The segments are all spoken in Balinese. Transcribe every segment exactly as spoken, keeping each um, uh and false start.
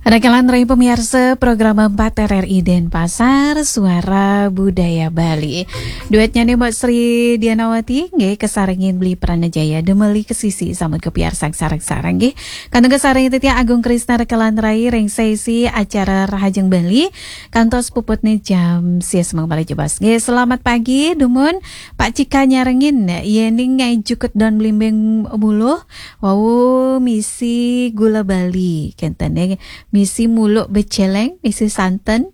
Rakalan rai pamiarsa program empat R R I Denpasar, Suara Budaya Bali. Duetnya nih Mbak Sri Dianawati, nggih, kasarengin Beli Pranajaya, Demeli Kesisi, sambut kapiarsang sareng-sareng, nggih. Kantun kasarengin titiang Agung Krisna rakalan rai ring sesi acara Rahajeng Bali, kantos puputne jam sia semeng bali jebos. Nggih, selamat pagi, dumun Pak Cika nyarengin, yening ngai jukut don blimbing buluh, wau misi gula Bali, kenten nggih. Misi muluk beceleng, misi santen.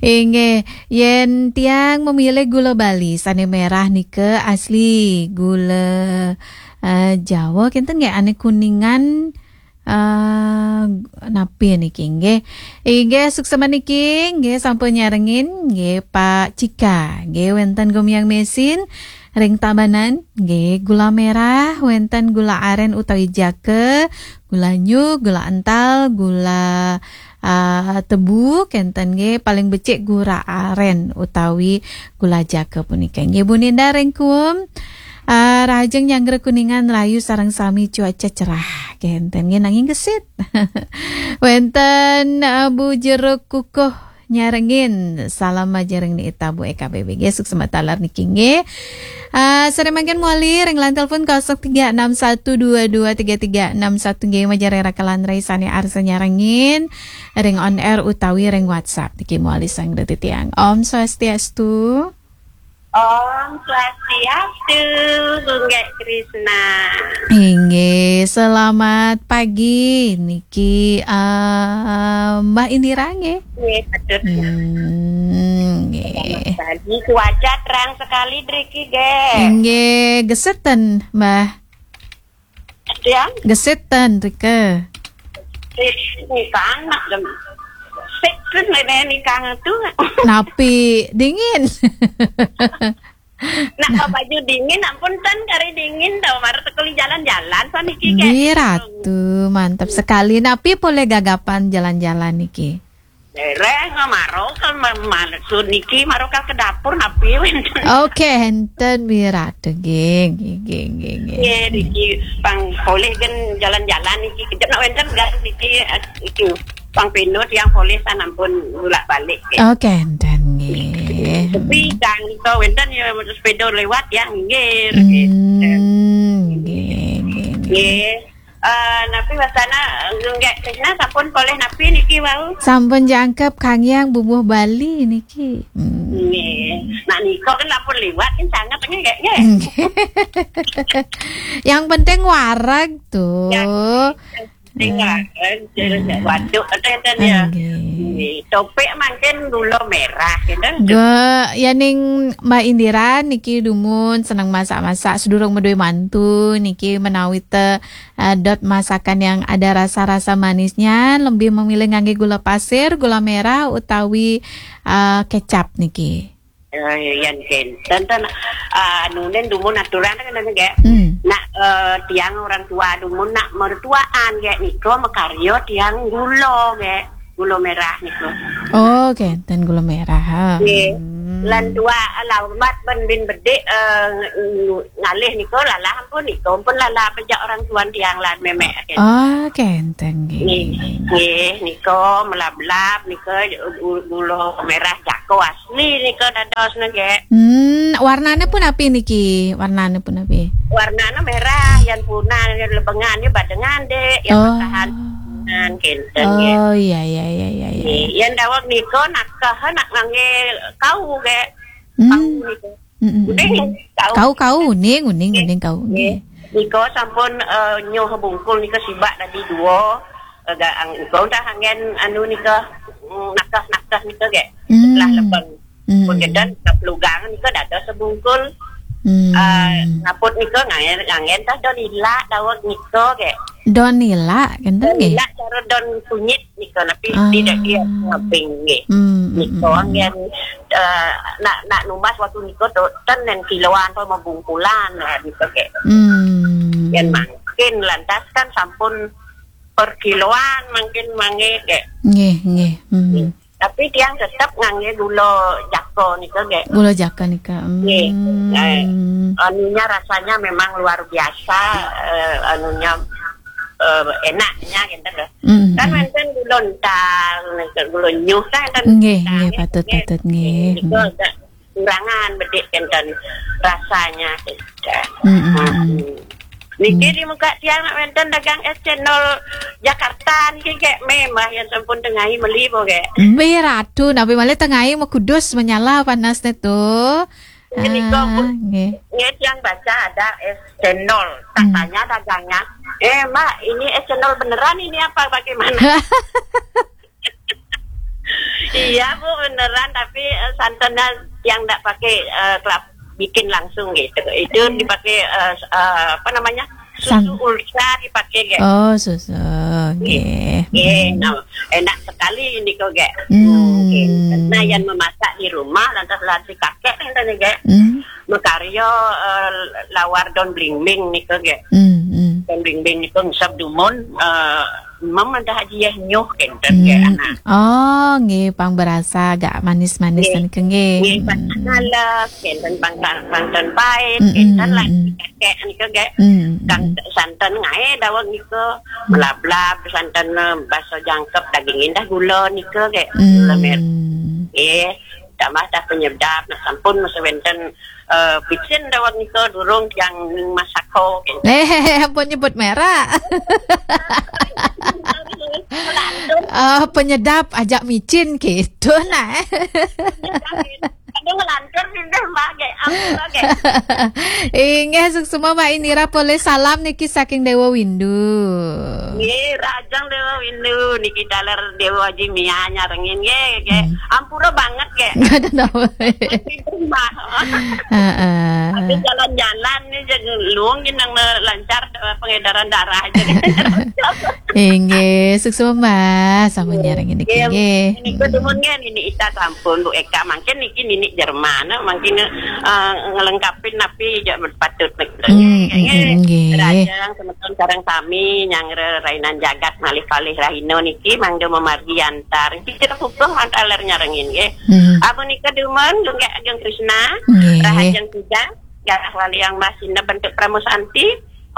Inggih, yen tiang memilih gula Bali sane merah nika asli gula, eh, Jawa, kenten nggih, ane kuningan, eh, napi niki nggih. Inggih, suksema niki nggih sampun nyarengin nggih Pak Cika. Nggih, wenten gumiang mesin ring Tabanan, nggih, gula merah, wenten gula aren utawi jaka, gula nyuh, gula ental, gula, ah, tebu, kenten nggih, paling becik gula aren utawi gula jaka punika. Nggih, Bu Ninda ring Kuum, ah, rahajeng nyanggra kuningan rayu sareng sami cuaca cerah, kenten nggih, nanging gesit. Wenten, ah, Bu Jeruk Kukuh nyarengin, salam majeng ring nita Bu E K B B G, suksema taler niki nggih. Ah, sare mangkin mawali ring line telepon kosong tiga enam satu dua dua tiga tiga enam satu nggih, majeng ring rakalan rai sane arsa nyarengin ring on air utawi ring WhatsApp niki mawali sang titiang. Om Swastiastu. Om Swastiastu, Gunggek Krisna. Inggih, selamat pagi niki, ah, Mbak Indira nggih. Nggih, patut. Hmm, nggih. Selamat pagi, cuaca terang sekali driki, nggih. Inggih, geseten, Mbah. Tiang? Geseten rika. Eh, nikang nak dem. Sik terus nenek nikang tu. Napi dingin? Nak baju dingin, ampun ten kari dingin tau, mara tekeli jalan-jalan saniki, nggih, Ratu, mantap sekali. Napi polih gagapan jalan-jalan niki? Dereng, maro ke ma-, maksud niki, maro ke, ke dapur napi wenten. Oke, enten Wirata, nggih, nggih, nggih, nggih, nggih. Nggih, niki pang polih gen jalan-jalan niki, kejap nak wenten gas niki, eh, niki pang pindho tiang polih san ampun bulak-balik, nggih. Oke, enten, nggih. Tapi kang nika wenten ya sepeda lewat ya, nggih, nggih. Hmm, nggih, nggih, nggih. Nggih. Eh, napi wasana, Nggak Krisna sampun polih napi niki wau? Sampun jangkep Kang Yang bubuh Bali niki. Hmm. Nggih. Nah, nika kan sampun liwat kan sangat nggih, nggih. Nggih. Yang penting wareg tuh. Ya, sing wareg, terus waduk atau enten ya. Nggih. Nggih. Topik mangkin gula merah, gitu. Ge, ya ning Mbak Indira niki dumun seneng masak-masak, sedurung meduwe mantu niki menawi te eh, dot masakan yang ada rasa-rasa manisnya, lebih memilih ngangge gula pasir, gula merah, utawi, eh, kecap niki? Eh, yan kenten ten, eh, anunen dumun aturan kan, nggih. Hmm. Nak, eh, tiang orang tua dumun nak mertuaan, nggih, nika makarya tiang gula, nggih. Gula merah nika. Oh, kenten gula merah, ha. Nggih. Hmm. Lan tua alamat ben bin bedik, eh, ng-, ngalih nika lalah ampun nika, ampun lalah pejak orang tuan tiang lan memek. Ah, kenten nggih. Nggih, nggih, nika melablab nika gu-, gula merah jako asli nika dados nggih. Hmm, warnane pun api niki? Warnane pun api? Warnane merah, yan punah, yan lebengan, yan badengan, Dek, yan. Oh. Matahan. Nah, kenten nggih. Oh, iya, iya, iya, iya, iya. Nggih, yan daweg nika nakeh nak ngangge kau nggih. Hmm. Kau nika. Mm, mm, mm. Uning, kau. Kau, kau, uning, uning, nggih, uning kau. Nggih. Nggih. Nika sampun, eh, nyoh bungkul nika sibak tadi dua. Eh, ga-, ang-, nika udah anggen anu nika, mm, nakeh-nakeh nika nggih. Hmm. Setelah lebeng. Hmm. Pun kedan, pelugang nika dados sebungkul. Hmm. Eh, ngaput nika nganggen, nganggen tah don ilak daweg nika nggih. Don ilak, kenten nggih? Don ilak cara don kunyit. Nika napi. Ah. Tidak dia ngaping nggih. Hmm, hmm, nika hmm, hmm. Anggen, eh, nak, nak numbas waktu nika tu, ten nen kiloan atau membungkulan lah nika nggih. Hmm. Yen mangkin lantas kan sampun per kiloan mangkin mangke nggih. Nggih, nggih. Hmm. Nggih. Tapi tiang tetap ngangge gula jako nika nggih. Gula jako nika. Hmm. Nggih. Eh, anunya rasanya memang luar biasa, eh, anunya, eh, enaknya gitu loh. Mm, kan mm. Wénten gula ental, wénten gula nyuh kan enten. Nggih, ental, nggih, patut, nggih. Patut, nggih. Niku agak kurangan bedik enten rasanya gitu. Mm, mm, mm. Hmm. Niki di muka tiang nak wénten dagang es cendol Jakarta niki kayak memang yang sampun tengahi meli po kayak. Nggih, Ratu, napi malih tengahi mekudus menyala panas nitu. Nggih, niku, ah, Bu. Nggih. Nggih, tiang baca ada es cendol. Tak, hmm, tanya dagangnya, "Eh, Mbak, ini es cendol beneran ini apa bagaimana?" Iya, Bu, beneran, tapi, eh, santannya yang ndak pakai, eh, kelap-, bikin langsung gitu. Itu, hmm, dipakai, eh, s-, eh, apa namanya, susu, san-, ultra dipakai, gek. Oh, susu, nggih. Nggih, nggih. Hmm. Nah, enak sekali ini kok, gek. Hmm. Nggih. Nah, yang memasak di rumah, lantas lagi kakek nih tadi, gek. Hmm. Makarya, eh, lawar daun blimbing nika, gek. Hmm, hmm. Daun blimbing nika ngisep dumun, eh, mem ada haji yeh nyuh kenten, gek, hmm, anak. Oh, nggih, pang berasa agak manis-manis, nggih, nika, nggih. Nggih, pang, hmm, ngalap kenten, pang tan-, pang tan pait, hmm, kenten, hmm, lah, hmm, kakek nika, gek. Hmm, hmm. Kang santan ngae daweg nika, hmm, melablab santan, eh, baso jangkep daging indah gula nika, gek. Hmm. Gula mer-, nggih. Tambah dah penyedap, nak sampun masa wénten, eh, picin daweg nika durung tiang masako, gitu. Eh, ampun nyebut merek. Ngelantur. Ah, penyedap ajak micin gitu, nah. Aduh, ngelantur sih deh, Mbak, gek. Ampun, Mbak, gek. Inggih, suksma Mbak Indira, polih salam niki saking Dewa Windu. Nggih, Rajang Dewa Windu, niki taler Dewa Haji Mia nyarengin, nggih, nggih. Hmm. Ampura banget, gek. Nggak ada apa. Di rumah. Heeh. Tapi jalan-jalan nih, jadi luung jeneng lancar, eh, pengedaran darah aja. Inggih, suksma, sampun nyarengin niki, nggih. Nggih, niku dumun nggih, Nini Ita sampun, Bu Eka, mangkin niki Nini Jerman, mangkin, eh, ngelengkapin napi ja patut niki. Hmm, nggih, hmm, hmm, nggih. Rajang semeton sareng sami nyanggra rainan jagat malih kalih rahina niki mangda mamargi antar. Niki kita pupung antar nyarengin, nggih. Hmm. Amun nika dumun, Gunggak Agung Krishna, nggih. Rahajeng Tiga, Garah Waliang Masina bentuk Pramu Santi,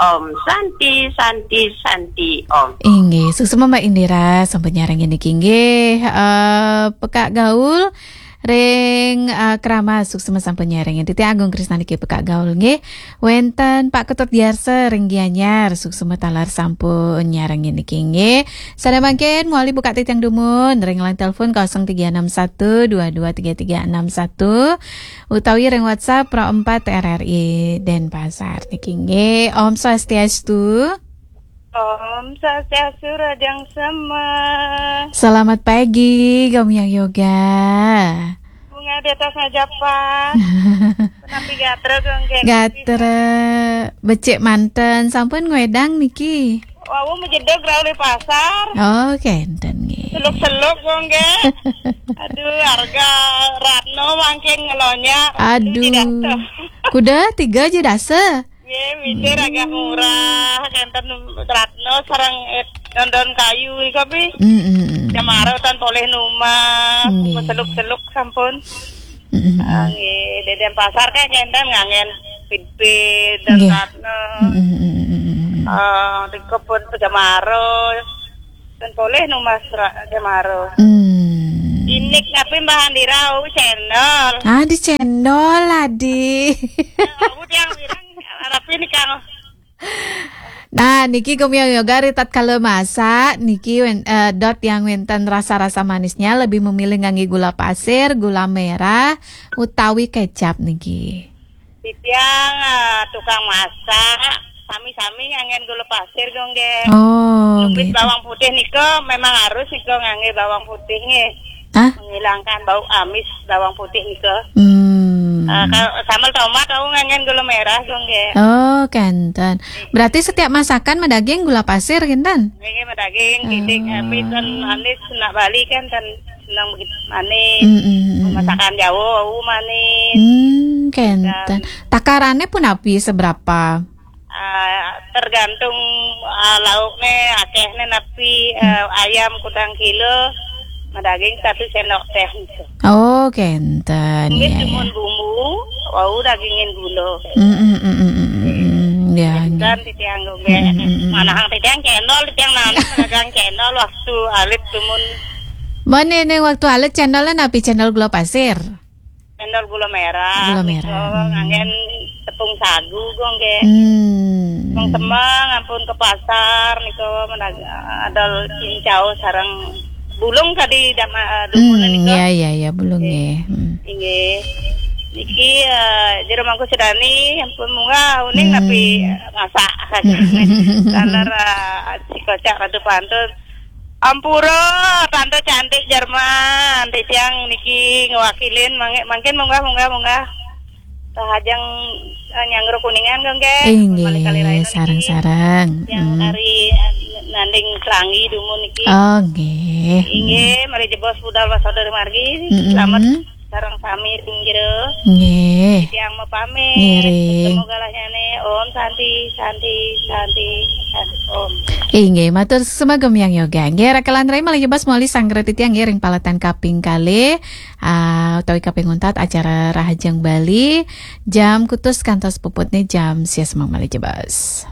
Om Santi, Santi, Santi, Om. Inggih, suksma Mbak Indira, sampun nyarengin niki, nggih. Eh, Pekak Gaul, ring, eh, Kramas, suksma sampun nyarengin. Titi Agung Krisna niki Pekak Gaul, nggih. Wénten Pak Ketut Diarsa, ring Gianyar, suksma taler sampun nyarengin niki, nggih. Sané mangkin, mawali buka titiang dumun, ring line telepon kosong tiga enam satu dua dua tiga tiga enam satu. Utawi ring WhatsApp Pro empat R R I Denpasar niki nggih. Om Swastiastu. Om Swastiastu, Rajang Sema. Selamat pagi, Gomyang Yoga. Bunga di atas ngajapan. Napi gatra, Gong, geng? Gatra, becik manten, sampun ngwedang niki. Wau majedeg rauh di pasar. Oh, kenten nggih. Seluk-seluk, Gong, geng. Aduh, harga Ratno mangkin ngelonjak. Aduh. Aduh, tidak tuh. Kuda tiga aja dasa. Nggih, micin agak murah, kenten Ratno sareng, eh, daun-daun kayu nika, Pi. Mm, mm, mm. Cemara tan polih numah, nggih. Seluk-seluk sampun. Mm, mm, mm. Ah, nggih, di Denpasar kan kenten ngangen pit-pit dan, nggih, Ratno. Mm, mm, mm, mm, mm. Ah, di kebun cemara. Kan polih numah ra-, cemara. Hmm. Inik napi Mbah Andira, oh, cendol. Ah, di cendol, adi. Aku tiang bilang, tapi ini Kang. Nah, niki Gomyang Yoga ri tatkala masak, niki wén-, eh, dot yang wénten rasa-rasa manisnya lebih memilih ngangge gula pasir, gula merah, utawi kecap niki. Titiang, eh, tukang masak, sami-sami nganggen gula pasir, Gong, nggih. Oh, nggih. Numbit bawang putih nika memang harus nika ngangge bawang putih, nggih. Hah? Menghilangkan bau amis bawang putih nika. Hmm. Eh, kalau sambel tomat, aku nganggen gula merah, Gong, nggih. Oh, kenten. Berarti setiap masakan madaging gula pasir, kinten? Nggih, nggih, madaging, titik, eh, pinten manis, nak Bali kan, ten senang begitu manis. Mm, mm, mm, mm. Masakan Jawa, uh, manis. Hmm, kenten. Dan takarane punapi seberapa? Ah, tergantung, ah, laukne, akehne napi, hmm, eh, ayam kudang kilo, madaging satu sendok teh gitu. Oh, kenten. Nggih, ya, cuman ya, bumbu, wau dagingin gula. Mm, mm, mm, mm, mm, mm. Ya, nggih. Titiang nggih. Manahang titiang cendol, titiang nami manahang cendol waktu alit dumun. Mane ning waktu alit cendolnya napi, cendol gula pasir? Cendol gula merah. Gula merah. Nika nganggen tepung sagu nggih. Hmm. Tepung semeng ampun ke pasar nika menag-, adol cincau sareng bulung tadi dama-, dumun nika. Ya, ya, ya, bulung nggih. Hmm. Inggih. Niki, eh, jero mangku sedani ampun munggah uning tapi masak. Taler, eh, si kocak ratu pantun. Ampura, tante cantik Jerman. Titiang niki ngewakilin, mangke-, mangkin munggah, munggah, munggah. Rahajeng, eh, nyanggra Kuningan, nggih. Inggih, malih kalih rahina niki. Sareng-sareng. Yang dari, eh, nanding Selangi dumun niki. Oh, nggih. Inggih, mari jebos budal wasada dumargi. Selamat sareng sami ring jero. Nggih. Titiang mapamit. Ngiring. Ketemu galahnyane. Om Santi, Santi, Santi, Santi, Om. Inggih, matur sumagem Yang Yoga. Nggih, rakelan rai malih jebos malih sanggra titiang nggih ring paletan kaping kalih, ah, utawi kaping untat acara Rahajeng Bali, jam kutus kantos puputne jam sia semeng malih jebos.